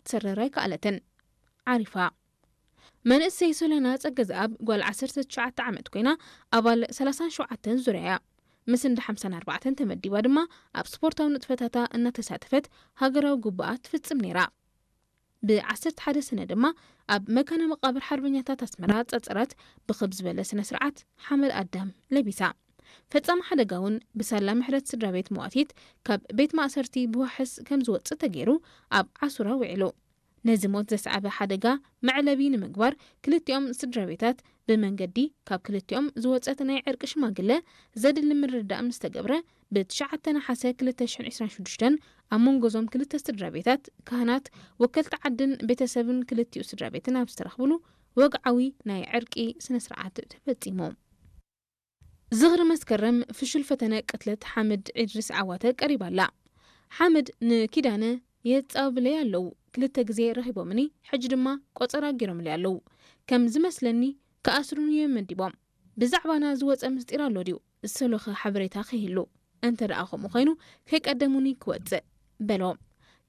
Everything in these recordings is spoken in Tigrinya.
ክትሰርር ኣይከኣለትን። ዓሪፋ። መንእሰይ ሶለና ጸገዝኣብ ጓል ዓሰርተ ትሽዓተ ዓመት ኮይና፣ ኣባል ሰላሳን ሸውዓተን ዙርያ እያ። ምስ እንዳ ሓምሳን ኣርባዕተን ተመዲባ ድማ ኣብ ስፖርታዊ ንጥፈታታ እናተሳተፈት ሃገራዊ ግቡኣ ትፍጽም ነይራ። ብ ዓሰርተ ሓደ ሰነ ድማ ኣብ መካነ መቃብር ሓርበኛታት ኣስመራ ጸጸራት ብኽብ ዝበለ ስነ ስርዓት ሓመድ ኣዳም ለቢሳ። ፈጻሚ ሓደጋ እውን ብሳላ ምሕረት ስድራ ቤት መዋቲት ካብ ቤት ማእሰርቲ ብዋሕስ ከም ዝወጽእ ተገይሩ ኣብ ዓሱራ ውዒሉ። ነዚ ሞት ዘስዓበ ሓደጋ መዕለቢ ንምግባር ክልቲኦም ስድራ ቤታት ብመንገዲ ካብ ክልቲኦም ዝወጸት ናይ ዕርቂ ሽማግለ ዘድሊ ምርድዳእ ምስ ተገብረ፣ ብ ትሽዓተ ነሓሰ ክልተ ሽሕን ዕስራን ሽዱሽተን ኣብ መንጎ እዞም ክልተ ስድራ ቤታት፣ ካህናት፣ ወከልቲ ዓድን ቤተሰብን ክልቲኡ ስድራ ቤትን ኣብ ዝተረኽብሉ ወግዓዊ ናይ ዕርቂ ስነ ስርዓት ተፈጺሙ። ዝኽሪ መስከረም ፍሹል ፈተነ ቅትለት ሓምድ ኢድሪስ ዓዋተ ቀሪባ ኣላ። ሓምድ ንኪዳነ የጻብለይ ኣለዉ፣ ክልተ ግዜ ረኺቦምኒ፣ ሕጂ ድማ ቆጸራ ገይሮምለይ ኣለዉ። ከም ዝመስለኒ ክኣስሩኒ እዮም መዲቦም። ብዛዕባና ዝወጸ ምስጢር ኣሎ ድዩ? ዝሰሎኸ ሓበሬታ ከይህሉ፣ እንተ ደኣ ከምኡ ኮይኑ ከይቀደሙኒ ክወጽእ፣ በሎ።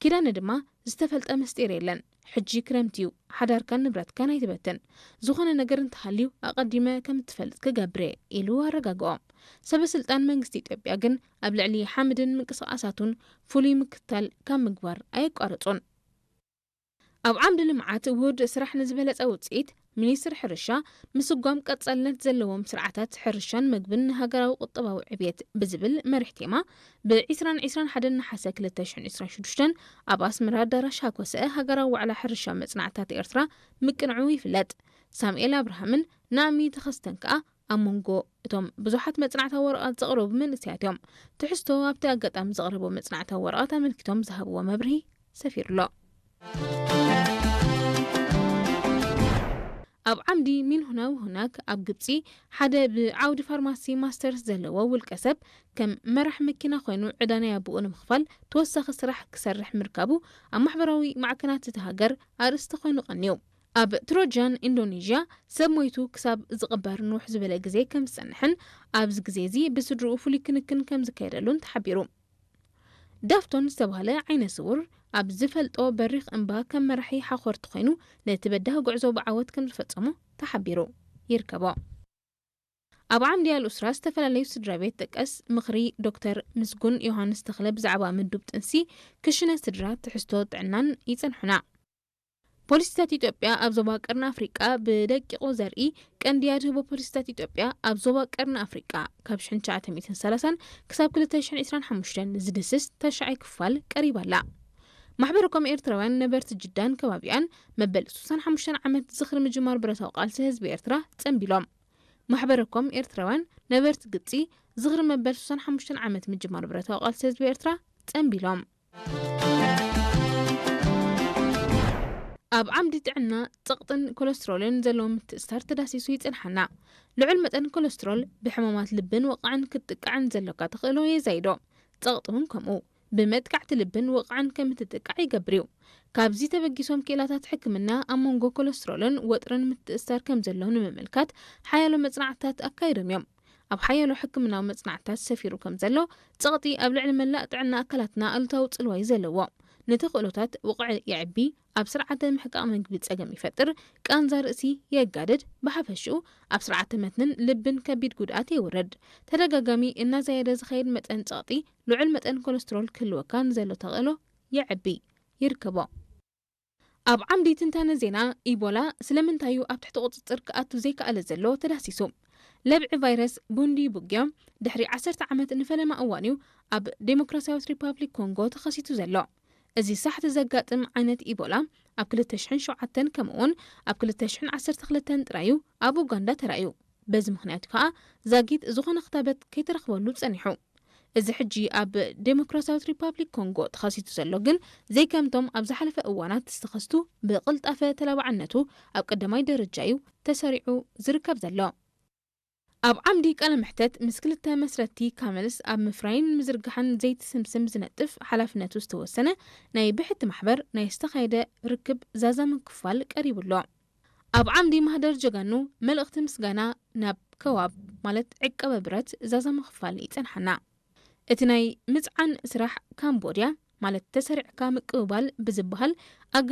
ኪዳነ ድማ ዝተፈልጠ ምስጢር የለን። ሕጂ ክረምቲ እዩ፣ ሓዳርካን ንብረትካን ኣይትበትን። ዝኾነ ነገር እንተሃልዩ ኣቐዲመ ከም እትፈልጥ ክገብር እየ፣ ኢሉ ኣረጋግኦ። ሰበ ስልጣን መንግስቲ ኢትዮጵያ ግን ኣብ ልዕሊ ሓምድን ምንቅስቓሳቱን ፍሉይ ምክትታል ካብ ምግባር ኣየቋረጹን። ኣብ ዓምዲ ልምዓት ውሁድ ስራሕ ንዝበለጸ ውጽኢት፣ ሚኒስትሪ ሕርሻ ምስጓም ቀጻልነት ዘለዎም ስርዓታት ሕርሻን መግብን ንሃገራዊ ቁጠባዊ ዕብየት ብዝብል መሪሕ ቴማ፣ ብ ዕስራን ዕስራን ሓደን ነሓሰ ክልተ ሽሕን ዕስራን ሽዱሽተን ኣብ ኣስመራ ኣዳራሽ ሃኮሰ ሃገራዊ ዋዕላ ሕርሻ መጽናዕትታት ኤርትራ ምቅንዑ ይፍለጥ። ሳሙኤል ኣብርሃምን ናእሚ ተኸስተን ከኣ ኣብ መንጎ እቶም ብዙሓት መጽናዕታዊ ወረቓት ዘቕረቡ መንእሰያት እዮም። ትሕዝቶ ኣብቲ ኣጋጣሚ ዘቕረቦ መጽናዕታዊ ወረቓት ኣመልኪቶም ዝሃብዎ መብርሂ ሰፊሩ ኣሎ። ኣብ ዓምዲ ሚንሁና ውሁናክ ኣብ ግብጺ፣ ሓደ ብዓውዲ ፋርማሲ ማስተርስ ዘለዎ ውልቀ ሰብ ከም መራሕ መኪና ኮይኑ ዕዳ ናይ ኣቦኡ ንምኽፋል ተወሳኺ ስራሕ ክሰርሕ ምርካቡ ኣብ ማሕበራዊ ማዕከናት እታ ሃገር ኣርእስቲ ኮይኑ ቀንዩ። ኣብ ትሮጃን ኢንዶኔዥያ ሰብ ሞይቱ ክሳብ ዝቕበር ንውሕ ዝበለ ግዜ ከም ዝጸንሕን ኣብዚ ግዜ እዚ ብስድርኡ ፍሉይ ክንክን ከም ዝካየደሉን ተሓቢሩ። ዳፍቶን ዝተባህለ ዓይነ ስውር ኣብ ዝፈልጦ በሪኽ እምባ ከም መራሒ ሓኾርቲ ኮይኑ ነቲ በዳሂ ጉዕዞ ብዓወት ከም ዝፈጸሞ ተሓቢሩ ይርከቦ። ኣብ ዓምዲ ኣልኡስራ ዝተፈላለዩ ስድራ ቤት ጥቀስ ምኽሪ ዶክተር ምስጉን ዮሃንስ ተኽለ ብዛዕባ ምዱብ ጥንሲ፣ ክሽነ ስድራ፣ ትሕዝቶ ጥዕናን ይጸንሑና። ፖሊሲታት ኢትዮጵያ ኣብ ዞባ ቀርኒ ኣፍሪቃ ብደቂቑ ዘርኢ ቀንዲ ኣድህቦ ፖሊሲታት ኢትዮጵያ ኣብ ዞባ ቀርኒ ኣፍሪቃ ካብ ሽሕን ትሽዓተ ሚእትን ሰላሳን ክሳብ ክልተ ሽሕን ዕስራን ሓሙሽተን ዝድስስ ተሽዓይ ክፋል ቀሪባ ኣላ። ማሕበረኮም ኤርትራውያን ነበርቲ ጅዳን ከባቢኣን መበል ስሳን ሓሙሽተን ዓመት ዝኽሪ ምጅማር ብረታዊ ቃልሲ ህዝቢ ኤርትራ ጸንቢሎም። ማሕበረኮም ኤርትራውያን ነበርቲ ግብጺ ዝኽሪ መበል ስሳን ሓሙሽተን ዓመት ምጅማር ብረታዊ ቃልሲ ህዝቢ ኤርትራ ጸንቢሎም። ኣብ ዓምዲ ጥዕና፣ ጸቕጥን ኮለስትሮልን ዘለዎ ምትእስሳር ተዳሲሱ ይጽንሓና። ልዑል መጠን ኮለስትሮል ብሕማማት ልብን ወቕዕን ክትጥቃዕን ዘሎካ ተኽእሎ የዛይዶ። ጸቕጢ እውን ከምኡ። ብመጥቃዕቲ ልብን ወቕዕን ከም እትጥቃዕ ይገብር እዩ። ካብዚ ተበጊሶም ክኢላታት ሕክምና ኣብ መንጎ ኮለስትሮልን ወጥርን ምትእስሳር ከም ዘሎ ንምምልካት ሓያሎ መጽናዕትታት ኣካይዶም እዮም። ኣብ ሓያሎ ሕክምናዊ መጽናዕትታት ሰፊሩ ከም ዘሎ፣ ጸቕጢ ኣብ ልዕሊ መላእ ጥዕና ኣካላትና ኣሉታዊ ጽልዋ እዩ ዘለዎ። ንተኽእሎታት ውቕዕ የዕቢ፣ ኣብ ስርዓተ ምሕቃቕ መግቢ ጸገም ይፈጥር፣ ቃንዛ ርእሲ የጋድድ፣ ብሓፈሽኡ ኣብ ስርዓተ መትንን ልብን ከቢድ ጉድኣት የውርድ። ተደጋጋሚ እናዛየደ ዝኸይድ መጠን ጸቕጢ፣ ልዑል መጠን ኮለስትሮል ክህልወካ ንዘሎ ተኽእሎ የዕቢ ይርከቦ። ኣብ ዓምዲ ትንታነ ዜና፣ ኢቦላ ስለምንታይ እዩ ኣብ ትሕቲ ቁጽጽር ክኣቱ ዘይከኣለ ዘሎ ተዳህሲሱ። ለብዒ ቫይረስ ቡንዲ ቡግዮ ድሕሪ ዓሰርተ ዓመት ንፈለማ እዋን እዩ ኣብ ዴሞክራሲያዊት ሪፓብሊክ ኮንጎ ተኸሲቱ ዘሎ። እዚ ሳሕቲ ዘጋጥም ዓይነት ኢቦላ ኣብ ክልተ ሽሕን ሸውዓተን ከምኡውን ኣብ ክልተ ሽሕን ዓሰርተ ክልተን ጥራይ እዩ ኣብ ኡጋንዳ ተራእዩ። በዚ ምኽንያት እዩ ከኣ ዛጊት ዝኾነ ክታበት ከይተረኽበሉ ጸኒሑ። እዚ ሕጂ ኣብ ዴሞክራሲያዊት ሪፓብሊክ ኮንጎ ተኸሲቱ ዘሎ ግን ዘይከምቶም ኣብ ዝሓለፈ እዋናት ዝተኸስቱ ብቕልጣፈ ተላባዕነቱ ኣብ ቀዳማይ ደረጃ እዩ ተሰሪዑ ዝርከብ ዘሎ። ኣብ ዓምዲ ቃለ መሕተት ምስ ክልተ መስረትቲ ካመልስ ኣብ ምፍራይን ምዝርጋሕን ዘይቲ ስምስም ዝነጥፍ ሓላፍነቱ ዝተወሰነ ናይ ብሕቲ ማሕበር ናይ ዝተኻየደ ርክብ ዛዛሚ ክፋል ቀሪቡ ኣሎ። ኣብ ዓምዲ ማህደር ጀጋኑ መልእኽቲ ምስጋና ናብ ከዋብ ማለት ዕቀበ ብረት ዛዛሚ ክፋል ይጸንሓና። እቲ ናይ ምጽዓን ስራሕ ካምቦድያ ማለት ተሰሪዕካ ምቅብባል ብዝበሃል ኣገባብ